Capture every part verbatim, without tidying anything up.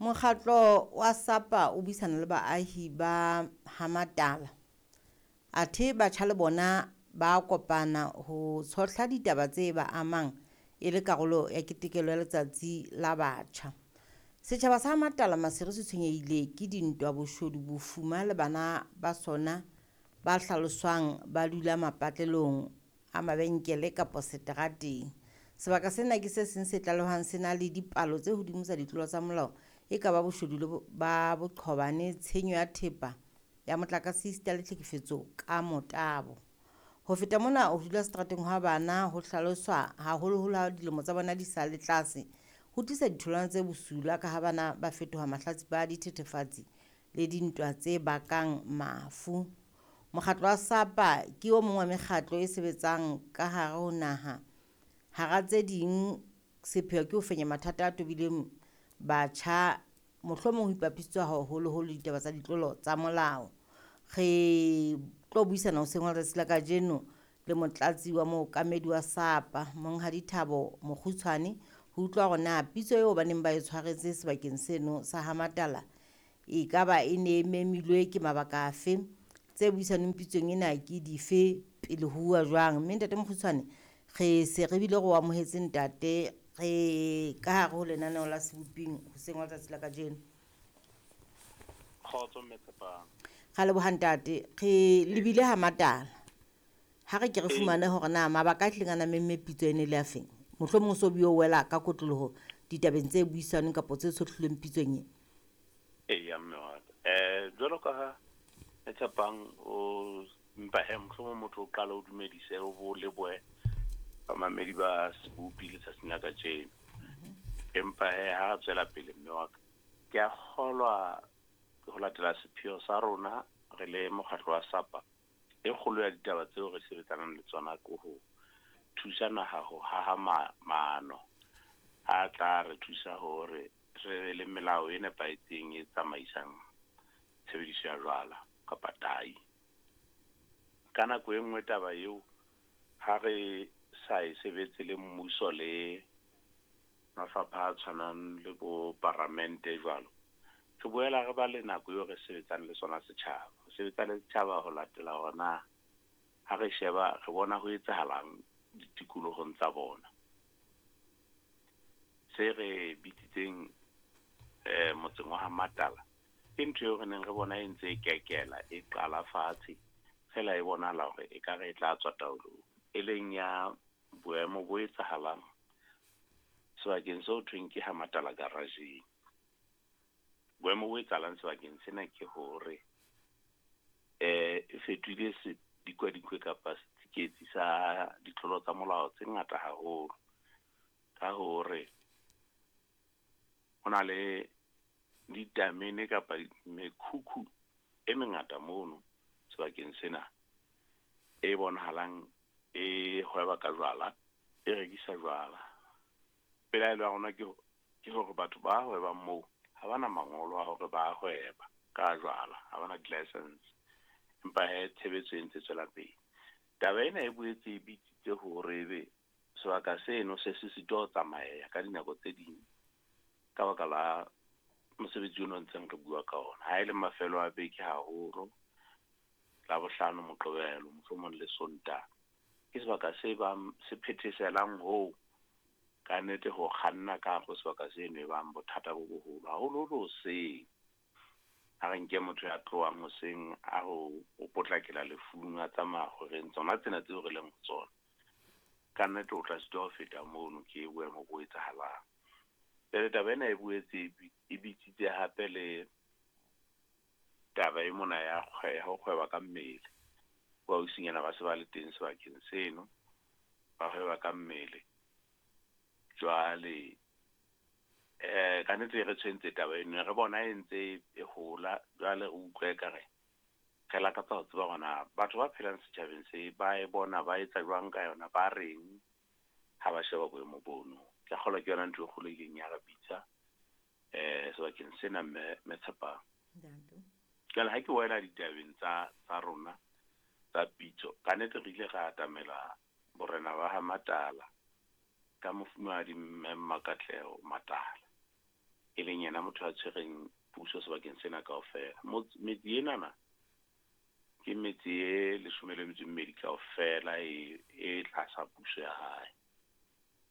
Mokgatlo wa SAPA o buisana le baahi ba Hamatala. Athe batjha le bona ba kopana ho tshohla ditaba tse ba amang e le karolo ya ketekelo ya letsatsi la batjha. Setjhaba sa Hamatala Maseru se tshwenyehile ke dintwa, boshodu, bofuma le bana ba sona ba hlaloswang ba dula mapatlelong a mabenkele kapa seterateng. Sebaka sena ke se seng se tlalehwang se na le dipalo tse hodimo tsa ditlolo tsa molao e ka ba boshodu le ba boqhobane, tshenyo ya thepa ya motlakase esita le tlhekefetso ka motabo. Ho feta mona, ho dula seterateng hwa bana ho hlaloswa haholoholo ha dilemo tsa bona di sa le tlase, ho tlisa ditholwana tse bosula ka ha bana ba fetoha mahlatsipa a dithethefatsi le dintwa tse bakang mafu. Mokgatlo wa SAPA ke o mong wa mekgatlo e sebetsang ka hare ho naha. Hara tse ding, sepheo ke ho fenya mathata a tobileng batjha, mohlomong ho ipapisitswe haholoholo ditaba tsa ditlolo tsa molao. Re tlo buisana hoseng hwa letsatsi la kajeno le motlatsi wa mookamedi wa SAPA, Monghadi Thabo Mokgutshwane, ho utlwa hore na pitso eo ba neng ba e tshwaretse sebakeng seno sa Hamatala e ka ba e ne e memilwe ke mabaka afe, tse buisanweng pitsong ena ke dife, pele ho uwa jwang. Mme ntate Mokgutshwane, re se re bile re o amohetse ntate, re ka hare ho lenaneo la Seboping hoseng hwa letsatsi la kajeno. Kgotso mme Tshepang. Ra leboha ntate, re lebile Hamatala. Ha re ke re fumane hore na mabaka a tlileng a memme pitso ene le a feng. Mohlomong o so bio wela ka kotloloho ditabeng tse buisanweng kapa tse tshohlilweng pitsong e. Eya mme wa ka. Eh jwalo ka ha Tshepang o mpa he mohlomong motho o qala o dumedise o bo lebohe bamamedi ba Sebopi letsatsing la kajeno. Empa he ha tswela pele mme wa ka, ke a kgolwa ho latela sepheo sa rona re le mokgatlo wa SAPA, e kgolo ya ditaba tseo re sebetsanang le tsona ke ho thusa naha ho haha maano a tla re thusa hore re be le melao e nepahetseng e tsamaisang tshebediso ya jwala kapa tai. Ka nako e nngwe taba eo ha re sa e sebetse le mmuso le mafapha a tshwanang le bo paramente jwalo, re boela re ba le nako eo re sebetsang le sona setjhaba. Ho sebetsa le setjhaba ho latela hore na ha re sheba re bona ho etsahalang ditikolohong tsa bona. Se re bitsitseng eh motseng wa Hamatala ke ntho eo re neng re bona e ntse e kekela, e qala fatshe fela e bonahala hore e ka re e tla tswa taolong, e leng ya boemo bo etsahalang sebakeng seo thweng ke Hamatala garage. Boemo bo etsahalang sebakeng sena ke hore eh e fetohile sedikwadikwe kapa setsiketsi sa ditlolo tsa molao tse ngata haholo, ka hore ho na le ditamene kapa mekhukhu e mengata mono sebakeng sena e bonahalang e hweba ka jwala, e rekisa jwala. Pelaelo ya rona ke ke hore batho ba hwebang moo ha bana mangolo a hore ba hweba ka jwala, ha bana di-license, empa he tshebetso e ntse tswela pele. Taba ena e boetse e bitsitse hore ebe sebaka seno se se sitwa ho tsamaya ka dinako tse ding ka baka la mosebetsi ono ntseng re bua ka ona. Ha e le mafelo a beke haholo, Labohlano, Moqebelo, mohlomong le Sontaha, ke sebaka se bang se phetheselang hoo ka nnete ho kganna ka hare ho sebaka seno e bang bothata bo boholo haholoholo hoseng. Ha re nke motho ya tlohang hoseng a ho o potlakela lefung a tsamaya horeng tsona tsena tseo re leng ho tsona, ka nnete o tla sitwa ho feta mono ke boemo bo etsahalang. Jwale taba ena e boetse e bitsitse hape le taba e mona ya ho kgweba ka mmele. Boausinyana ba se ba le teng sebakeng seno, ba hweba ka mmele. Jwale eh ka nnete re tshwentse taba eno, re bona e ntse e hola. Jwale re utlwa ekare re lakatsa ho tseba hore na batho ba phelang setjhabeng se ba e bona ba etsa jwang ka yona, ba reng ha ba sheba boemo bono. Ke kgolwa ke yona ntho e kgolo e ileng ya re bitsa eh sebakeng sena mme mme Tshepang. Jwale ha ke wela ditabeng tsa tsa rona tsa pitso, ka nnete re ile ra atamela borena ba Hamatala ka mofumahadi mme Mmakatleho Matala, e leng yena motho a tshwereng puso sebakeng sena kaofela. Metse enana ke metse e leshome le metso e mmedi kaofela e e tlasa puso ya hae.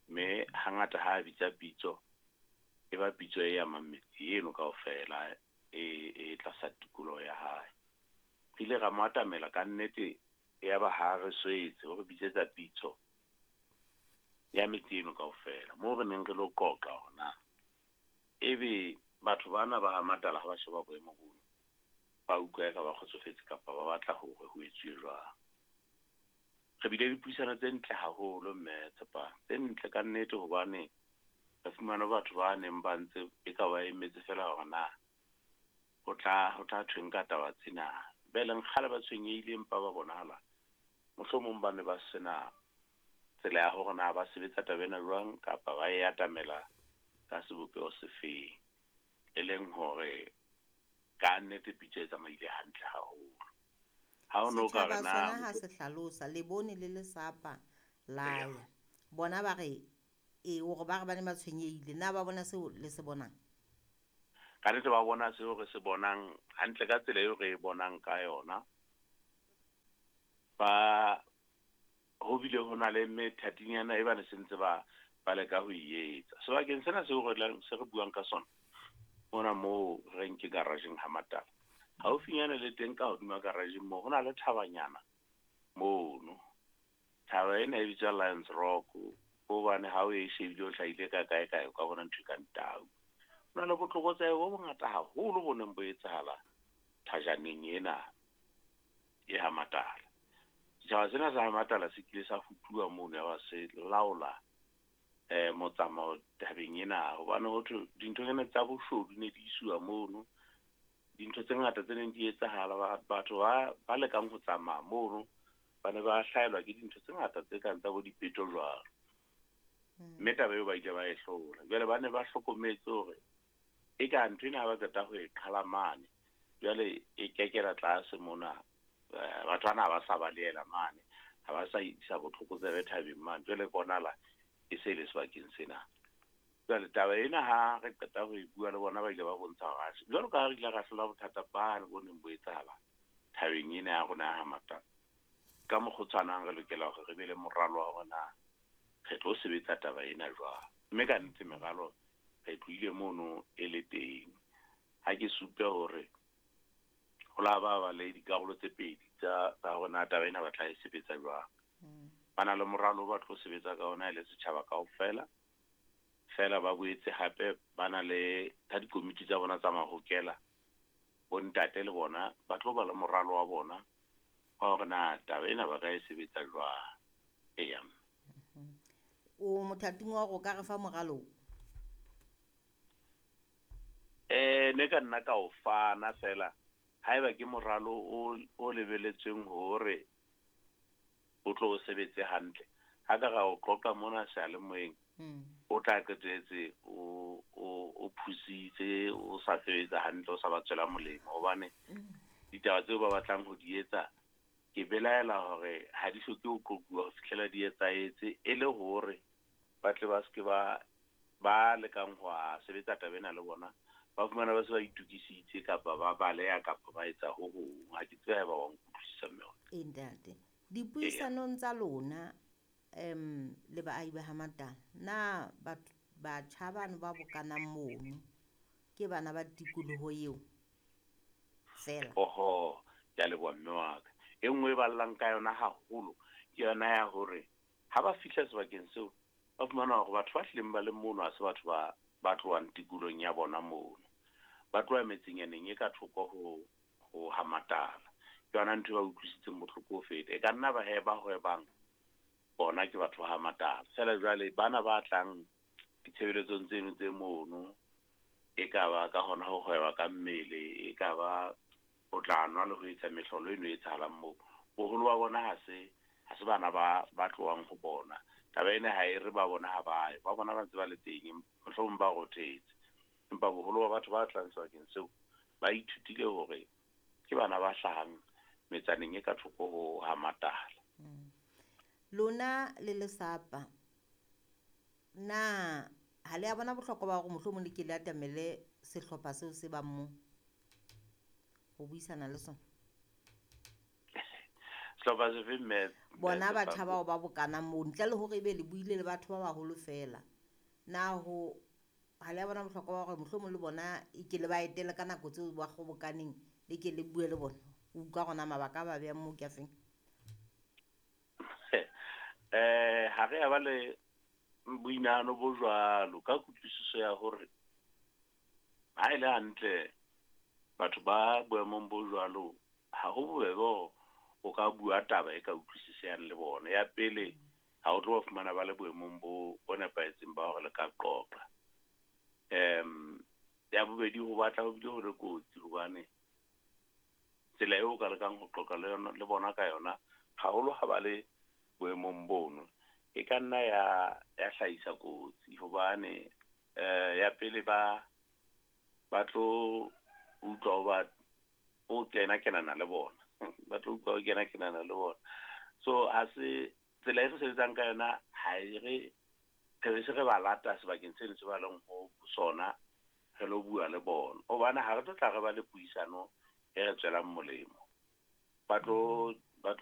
Mme hangata ha a bitsa pitso, e ba pitso e amang metse eno kaofela e e tlasa tikoloho ya hae. Re ile ra mo atamela ka nnete, ya ba ha re swetse ho re bitsetsa pitso ya metse eno kaofela, moo re neng re lo qoqa hore na ebe batho bana ba ha Matala ha ba sheba boemo bono, ba utlwa eka ba kgotsofetse kapa ba batla hore ho etsuwe jwang. Re bile le dipuisano tse ntle haholo mme Tshepang, tse ntle ka nnete, hobane re fumane batho ba neng ba ntse e ka ba emetse fela hore na ho tla ho tla thweng ka taba tsena. Be leng kgale ba tshwenyehile, empa ba bonahala mohlomong ba ne ba sena tsela ya hore na ba sebetsa taba ena jwang kapa ba e atamela ka sebopeho sefeng, e leng hore ka nnete pitso e tsamaile hantle haholo. Ha o no ka re Setjhaba na sona ha se hlalosa, le bone le le sapa la Eya. ya. Bona ba re e hore ba re ba ne ba tshwenyehile, na ba bona seo le se bonang? Ka nnete ba bona seo re se bonang hantle ka tsela eo re e bonang ka yona. Ba ho bile ho na le methatinyana e ba ne se ntse ba ba leka ho e etsa. Sebakeng sena seo re tlang, se re buang ka sona, mona moo re reng ke garageng ha Matala. Haufinyana le teng ka hodima garageng moo, ho na le thabanyana mono. Thaba ena e bitswa Lions Rock, hobane ha o e shebile o hlahile ka kae kae, o ka bona ntho e kang tau. Ho na le botlokotsebe bo bongata haholo bo neng bo etsahala thajaneng ena e ha Matala. Setjhaba sena sa ha Matala se kile sa futuwa mono, ya ba se laola eh motsamao tabeng ena, hobane ho thwe dintho tsena tsa boshodu ne di isuwa mono. Dintho tse ngata tse neng di etsahala, ba-, batho ba, ba lekang ho tsamaya mono ba ne ba hlahelwa ke dintho tse ngata tse kang tsa bo dipeto jwalo. Mm. Mme taba eo ba ile ba e hlola. Jwale ba ne ba hlokometse hore e ka ntho ena ha ba qeta ho e qhala mane, jwale e kekela tlase mona. Eh, batho bana ha ba sa balehela mane, ha ba sa isa botlokotsebe thabeng mane, jwale bonahala e se le sebakeng sena. Jwale taba ena ha re qeta ho e bua le bona, ba ile ba bontsha hore atjhe, jwalo ka ha re ile ra hlola bothata bane bo neng bo etsahala thabeng ena ya rona ya ha Matala, ka mokgwa o tshwanang re lokela hore re be le moralo wa hore na re tlo sebetsa taba ena jwang. Mme ka nnete meralo re tlohile mono e le teng. Ha ke supe hore ho la ba ba le dikarolo tse pedi tsa, tsa hore na taba ena ba tla e sebetsa jwang. Mm. Ba na le moralo o ba tlo sebetsa ka ona e le setjhaba kaofela. Feela ba boetse hape ba na le ka dikomiti tsa bona tsa mahokela, bontate le bona ba tlo ba le moralo wa bona wa hore na taba ena ba ka e sebetsa jwang. Eya. Mm-hmm. O mothating wa hore o ka re fa moralo o? Eh, ne ka nna ka o fana fela haeba ke moralo o, o lebeletsweng hore o tlo o sebetse hantle. Ha ka ra o qoqa mona seyalemoyeng, Mm. o tla qetelletse o, o, o phusitse, o sa sebetsa hantle, o sa ba tswela molemo, hobane Mm. ditaba tseo ba batlang ho di etsa, ke belaela hore ha di hloke ho qoquwa ho fihlela di etsahetse, e le hore ba tle ba seke ba, ba lekang ho a sebetsa taba ena le bona, ba fumana ba se ba itokisitse kapa ba baleha kapa ba etsa ho hong. Ha ke tsebe haeba wa nkutlwisisa mme wa ka. Ee, ntate. Dipuisanong tsa lona, em, le baahi ba ha Matala, na batho, batjha bano ba bokanang mono ke bana ba tikoloho eo fela? Oho, ke a leboha mme wa ka. E nngwe e ballang ka yona haholo ke yona ya hore ha ba fihla sebakeng seo, ba fumana hore batho ba hlileng ba le mono ha se batho ba, ba tlohang tikolohong ya bona mono. Ba tloha metsenyaneng e ka thoko ho, ho ha Matala. Ke yona ntho e ba utlwisitseng bohloko ho feta. E ka nna ba he ba hwebang bona ke batho ba ha Matala. Feela jwale bana ba tlang ditshebeletsong tseno tse mono, e ka ba ka hona ho hweba ka mmele, e ka ba ho tla nwa le ho etsa mehlolo eno e etsahalang moo. Boholo ba bona ha se, ha se bana ba, ba tlohang ho bona. Taba ena ha e re ba bona ha ba ye, ba bona ba ntse ba le teng, mohlomong ba rothetse. Empa boholo ba batho ba tlang sebakeng seo ba ithutile hore ke bana ba hlahang metsaneng e ka thoko ho ha Matala. Mm. Lona le le Sapa, na Ha le a bona bohlokwa ba hore mohlomong le ke le atamele sehlopha seo se bang moo ho buisana le sona? Sehlopha sefe, mme? Bona batjha bao ba bokanang moo, ntle le hore ebe le buile le batho ba baholo feela. Na ho ha le a bona bohlokwa ba hore mohlomong le bona e ke le ba etele ka nako tseo ba kgobokaneng, le ke le bue le bona? O utlwa hore na mabaka a ba behang moo ke a feng? Eh, ha re a ba le boinahano bo jwalo ka kutlwisiso ya hore ha e le hantle batho ba boemong bo jwalo ha ho bobebe hore o ka bua taba e ka utlwisisehang le bona. Ya pele, ha o tlo ba fumana ba le boemong bo bo nepahetseng ba hore le ka qoqa. Um ya bobedi, ho batla ho bile ho le kotsi hobane tsela eo o ka lekang ho qoqa le yona le bona ka yona, haholo ha ba le boemong bono, e ka nna ya ya hlahisa kotsi hobane eh ya pele ba ba tlo utlwa ho ba o kena kenana le bona, ba tlo utlwa o kena kenana le bona. So ha se tsela e re sebetsang ka yona, ha e re re se re ba lata sebakeng seno se ba leng ho sona, re lo bua le bona, hobane ha re tlo tla re ba le puisano e re tswelang molemo. Ba tlo